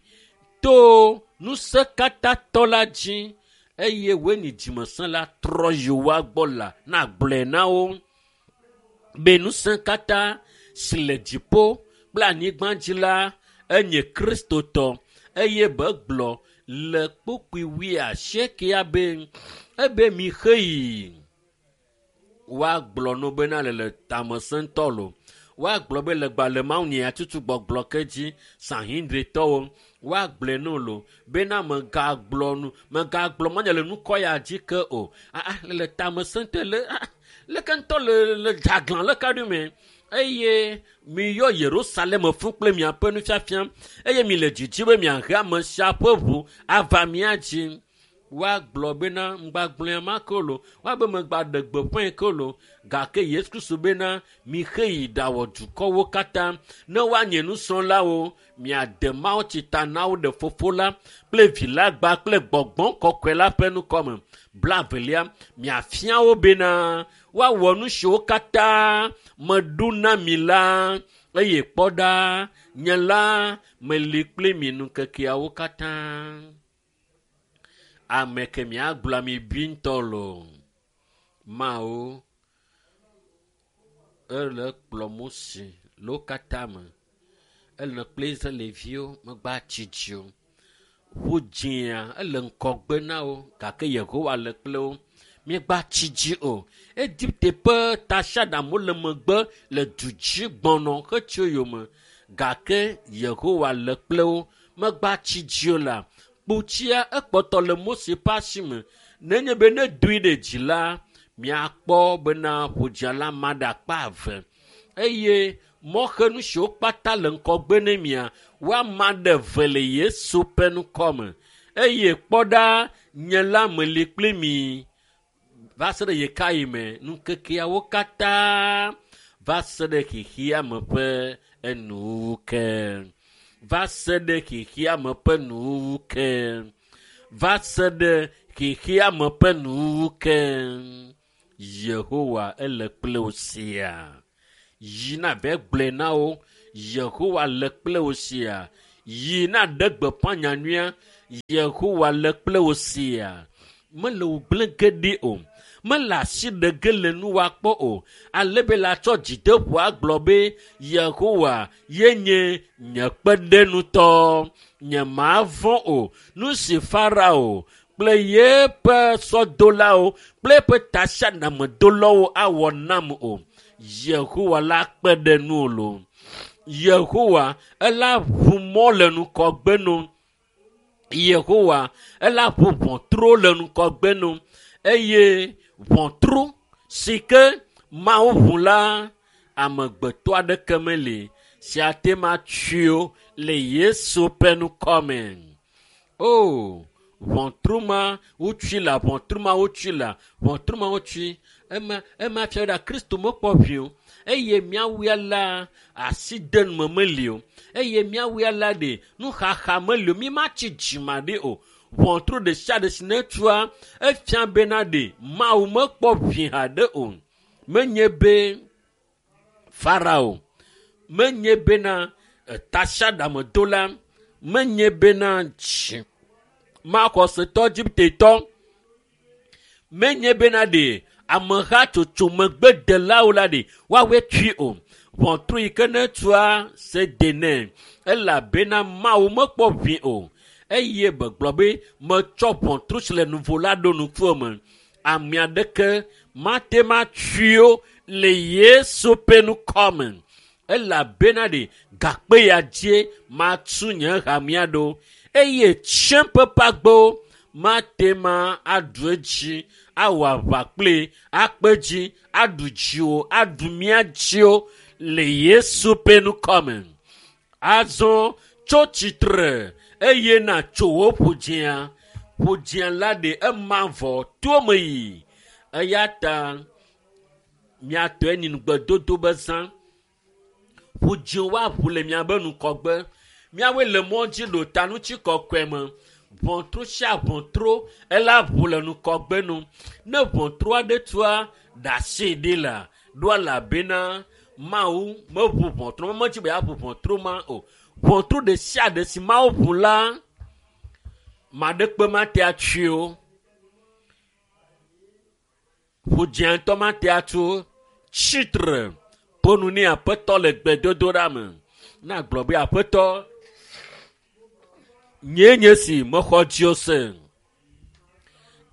to ŋusẽ katã tɔ la dzi eye woe nyi dzimesẽ la trɔ yi woa gbɔ la na gblɔe na wo be ŋusẽ katã si le dziƒo kple anyigba dzi la enye Kristotɔ eye be gblɔ le kpukpui wuiasiekɛa be ebe mi xeyi woagblɔ no bena le le tamesẽ ŋutɔ lo woagblɔ be le gba le Mawu nye tutu gbɔgblɔ ke dzi Sanhedritɔwo woagblɔe no lo bena megagblɔ nu megagblɔ manya le nukɔ ya dzi ke o ah le tamesẽ ŋutɔ le ah leke ŋutɔ le le dzaglã le ka ɖi me eye miyɔ Yerusalem fũ kple miaƒe nufiafia eye mi le dzidzi be miahe ame sia ƒe ʋu ava mía dzi woagblɔ bena ŋgbagblɔe ma ke lo woabe megba ɖe gbeƒãe ke lo gake Yesu Kristo bena mixe yi ɖawɔ dukɔwo katã ne woanye nusrɔ̃lawo miade mawutsi ta na wo ɖe fofo la kple vi la gba kple gbɔgbɔ kɔkɔe la ƒe nukɔme blavelia miafia wo bena woawɔ nu siwo katã meɖo na mi la eye kpɔ ɖa nye la meli kpli mi ŋkekeawo katã ame ke miagblɔ mi bi ŋutɔ lo Mawu ele kplɔ Mose le wo katã me ele kple Israelviwo megba tsi dzi o ƒu dzĩa ele ŋkɔgbe na wo gake Yehowa le kple wo miegba tsi dzi o Egipte ƒe tasiaɖamwo le megbe le du dzi gbɔnɔ hetso yome gake Yehowa le kple wo megba tsi dzi o la kpotsia ekpɔtɔ le Mose ƒe asi me nenye be ne doe ɖe dzi la miakpɔ bena ƒodzia la ma ɖe akpa eve eye mɔxenu siwo kpata le ŋkɔgbe ne mia woama ɖe eve le Yesu ƒe ŋkɔme eye kpɔ ɖa nye la meli kpli mi va se ɖe ɣekaɣi me ŋkekeawo katã va se ɖe xexea me ƒe enuwuwu ke va se ɖe xexea me ƒe nuwuwu ke va se ɖe xexea me ƒe nuwuwu ke. Yehowa ele kple wò sia. Yi na be gblɔe na wo, Yehowa le kple wò sia. Yi na ɖe gbeƒã nyanyuia, Yehowa le kple wò sia. Mele wò gblẽ ge ɖi o. Mele asi ɖe ge le nuwa kpɔ o. Ale be la tsɔ dzideƒo agblɔ be Yehowa ye nye nye kpeɖenutɔ. Nye mavɔ̃ o. Nu si Farao kple yeƒe sɔdolawo kple eƒe tasiaɖamedolawo awɔ nam o. Yehowa la kpe ɖe nuwò loo. Yehowa ela ʋu mɔ le ŋgɔgbe no. Yehowa ela ʋu ʋɔtru le ŋgɔgbe no. Eye ʋɔtru si ke Mawu ʋu la, amegbetɔ aɖeke meli si ate ŋu atui o le Yesu ƒe ŋkɔ me. O, ʋɔtru ma wotui la, ʋɔtru ma wotui la, ʋɔtru ma wotui. Ema, ema fia ɖa Kristo mekpɔ ʋi o. Eye míawoe la asi de nume meli o. Eye míawoe la ɖe nuxaxa meli o. Mi matsi dzimaɖi o. Ʋɔtru ɖe sia ɖe si netua, efia bena ɖe Mawu mekpɔ ʋi haɖe o. Menye be Farao, menye bena tasiaɖamedola, menye bena dzi maxɔsetɔ Egiptetɔ, menye bena ɖe amehatsotso megbedelawo la ɖe woawoe tui o. Ʋɔtru yi ke netua se de nɛ elabena Mawu mekpɔ ʋi o. Eye begblɔ be metsɔ ʋɔtru si le nuvo la ɖo ŋkuwò me. Ame aɖeke mate ŋu atui o le Yesu ƒe ŋkɔ me. Elabena ɖe gakpe ya dzie matu nye hamea ɖo. Eye tsiẽƒe ƒe agbewo mate ŋu aɖu edzi, awɔ aʋa kpli, akpe dzi, aɖu dziwò, aɖu mía dziwo le Yesu ƒe ŋkɔ me. Azɔ tso tsitre eye natso wò ƒudzĩa. Ƒudzĩa la ɖe ema vɔ to me yi. Eya ta miatɔe nyi ŋugbedodo be zã. Ƒudzĩ woaʋu le miabe ŋgɔgbe. Miawoe le mɔ dzi ɖo ta ŋuti kɔkɔe me. Ʋɔtru sia ʋɔtru ela ʋu le ŋgɔgbe nu. Ne ʋɔtru aɖe tua, ɖe asi ɖi la, ɖo elabena Mawu meʋu ʋɔtru ma, medzi be yeaʋu ʋɔtru ma o. Ʋɔtru ɖe sia ɖe si Mawu ʋu la, maɖekpe mate atui o. Ƒudzĩa ŋutɔ mate atu o. Tsitre ƒo nu nɛ Aƒetɔ le gbedodoɖa me. Na gblɔ be Aƒetɔ, nyee nye si mexɔ dziwò se.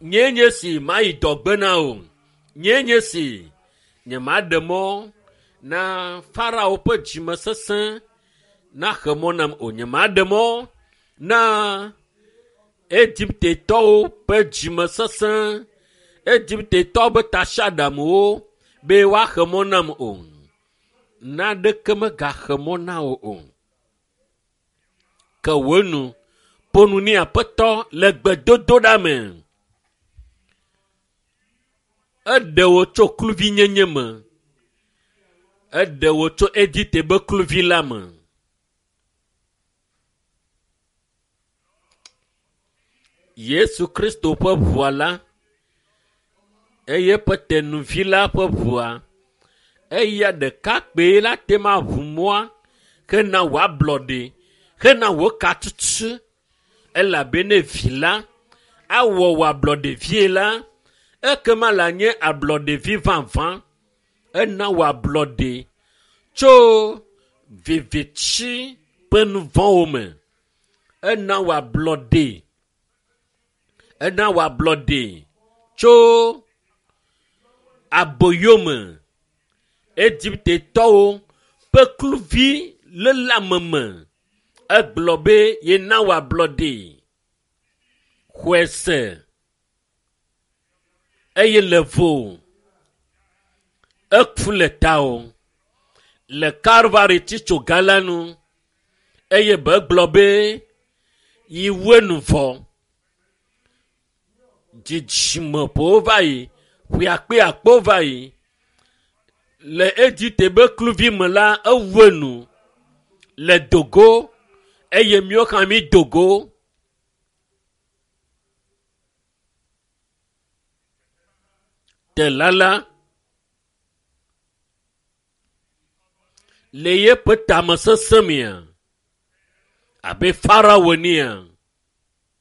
Nyee nye si mayi dɔgbe na o. Nyee nye si nyemaɖe mɔ na Farao ƒe dzimesesẽ naxe mɔ nam o. Nyemaɖe mɔ na Egiptetɔwo ƒe dzimesesẽ, Egiptetɔwo ƒe tasiaɖamwo be woaxe mɔ nam o. Naneke megaxe mɔ na wò o. Ke wò nu, ƒo nu nɛ Aƒetɔ le gbedodoɖa me. Eɖe wò tso kluvinyenye me. Eɖe wò tso Egipte be kluvi la me. Yesu Kristo ƒe ʋua la, eye eƒe tenuvi la ƒe ʋua, eya ɖeka kpee la te ŋu aʋu mɔa hena wò ablɔɖe, hena wò katutu. Elabena vi la awɔ wò ablɔɖevie la, ekema la nye ablɔɖevi vavã. Ena wò ablɔɖe tso viviti ƒe nu vɔ̃wo me. Ena wò ablɔɖe. Ena wò ablɔɖe tso aboyome. Egiptetɔwo ƒe kluvi léleame me. Egblɔ be yena wò ablɔɖe. Xɔe se eye le vo. Eku le tawò le Kalvari tsitsoga la nu eye begblɔ be yi wue nu vɔ. Dzidzime ƒowo va yi, ƒe akpe akpewo va yi. Le Egipte be kluvi me la, ewue nu le dogo eye míawo hã mi dogo. Dela la le yeƒe tamesesẽ mea abe Farao enea.